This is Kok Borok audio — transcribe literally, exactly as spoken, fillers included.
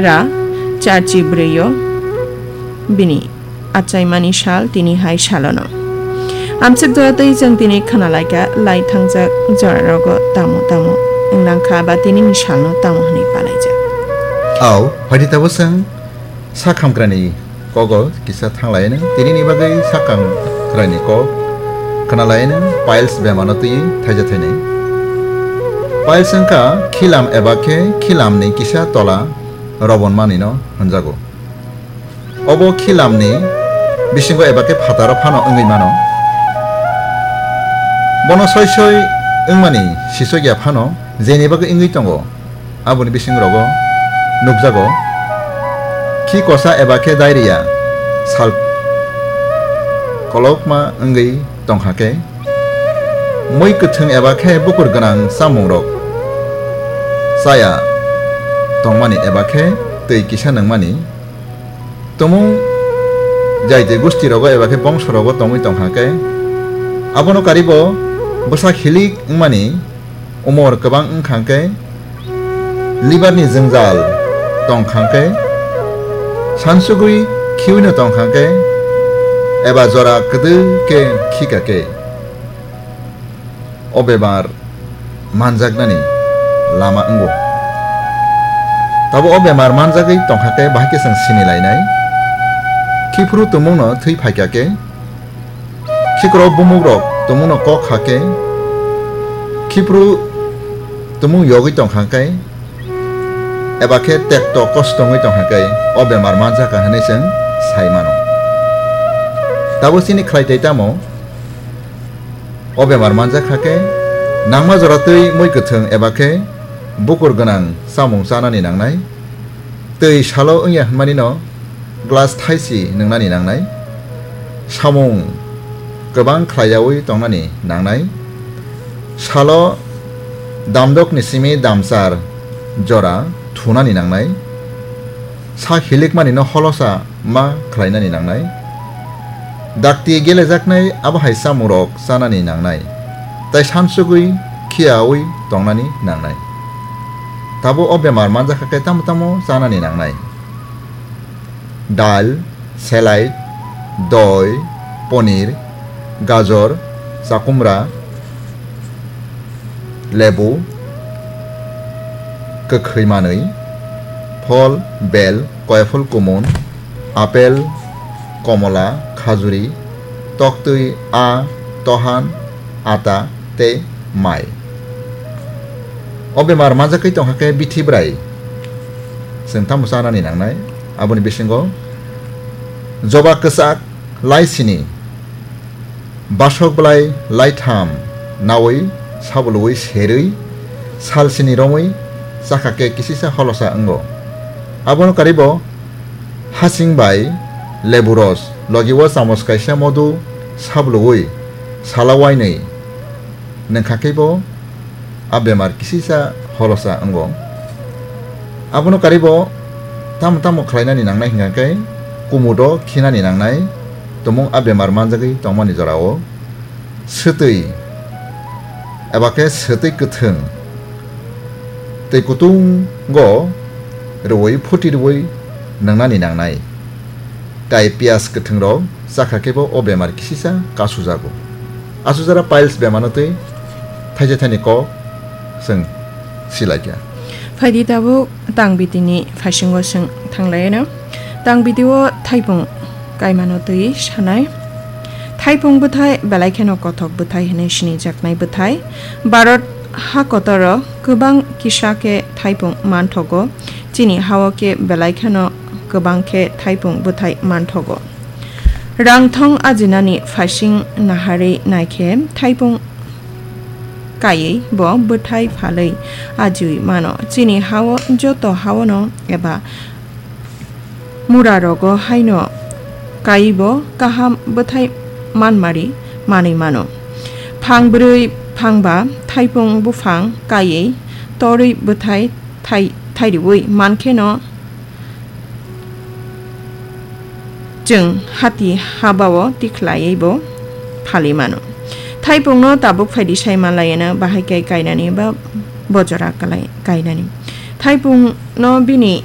ra charchi brwi o bini achaimani sal tini hai salono. Amswk jora twi chwng tini khna laikha lai thangjak jora rogo tamo tamo wnglang kha ba tini ni salno tamo hwnwi palaijak. Au, phaidi tabuk chwng Sakhamkrani kogo kisa thanglaino, tinini bagwi sakhamkrani kok khnalaino piles bemano twi thaija thainai. Piles wngkha khilam eba khe khilamni kisa tola robonmanino hwnjago. Obo khilamni bisingo eba khe phataro phano wngwi mano. Bono soi soi wngmani sisokya phano jeni bagwi wngwi tongo. Aboni bisingrogo nukjago, khi kosa eba khe diarrhea sal kolokma wngwi tongkha khe, mui kwthwng eba khe bukur gwnang chamungrok chaya tongmani eba khe twi kisa nungmani, tumung jaiti gustirogo eba khe bongsorogo tongwi tongkha khe, abono karibo bwsa hilik wngmani, umor kwbang wngkha khe, liver ni jwngjal tongkha khe, sansugwi khiwino tongkha khe, eba jora kwdwi khe khika khe, o bemar manjaknani lama wngo. Tabo o bemar manjagwi tongkha khe bahai khe chwng sini lainai. Khiphuru tumungno thwi phaikha khe, khikrok bumukrok tumungno kok kha khe, khiphuru tumung yogwi tongkha khe, eba khe tekto kosto wngwi tongkha khe, o bemar manjakha hwnwi chwng sai mano. Tabo chini khlai tei tamo? O bemar manjak kha khe, nangma jora twi mui kwthwng eba khe bukur gwnang chamung chanani nangnai. Twi salo wngya hwnmanino glass thaisi nwngnani nangnai. Samung kwbang khlaiyaui tongnani nangnai. Salo damdokni simi damchar jora thunani nangnai. Sa hilikmanino holosa ma khlainani nangnai. Dakti gelejaknai abo hai chamungrok chanani nangnai, tei sansugwi khiyaui tongnani nangnai. Tabo o bemar manjakha khe tamo tamo chanani nangnai. Dal, selai, doi, ponir, gajor, chakumra, lebu, kwkhwi manwi, phol, bel, koiphol kumun, apel, komola, khajuri, toktwi, a, tohan, ata tei mai. O bemar manjakwi tongkha khe bithi bwrai chwng tamo chanani nangnai? Aboni bisingo joba kwchak lai sini, basok bwlai lai tham naui sabuluui serwi sal sini romwi chakha khe kisisa holosa wngo. Abono karibo hasing bai lebu ros logi o chamos kaisa modu sabuluui sala wainwi nungkha khe bo a bemar kisisa holosa wngo. Abono karibo tamo tamo khlainani nangnai hwnkha khe kumudo khinani nangnai, tumung a bemar manjagwi tongmani jorao swtwi eba khe swtwi kwthwng twi kutungo rwui phuti rwui nwngnani nangnai. Tai piyaj kwthwngrok chakha khe bo o bemar kisisa kasujago. Asujara piles bemano twi thaisa thaini kok chwng silaikha. Phaidi tabuk tang bitini phaisingo chwng thanglaino. Tang bitio thaipung kaimano twi sanai. Thaipung bwthai belai kheno kothok bwthai hwnwi sinijaknai bwthai. Bharat ha kotoro kwbang kisa khe thaipung manthogo. Chini hao khe belai kheno kwbang khe thaipung bwthai manthogo. Rangthong ajinani phaising naharwi naikhe thaipung kaiwi bo bwthai phalwi ajiwi mano. Chini hao joto haono eba mura rogo haino kaiwi bo kaham bwthai manmari manwi mano. Phang bwrwi phang ba thaipung buphang kaiwi torwi bwthai thai-, thairiwi mankheno chwng hati habao tikhlaiwi bo phalwi mano. Thaipungno tabuk phaidi sai manlaiyano bahai khe kainani ba bojora kalai-, kainani. Thaipungno bini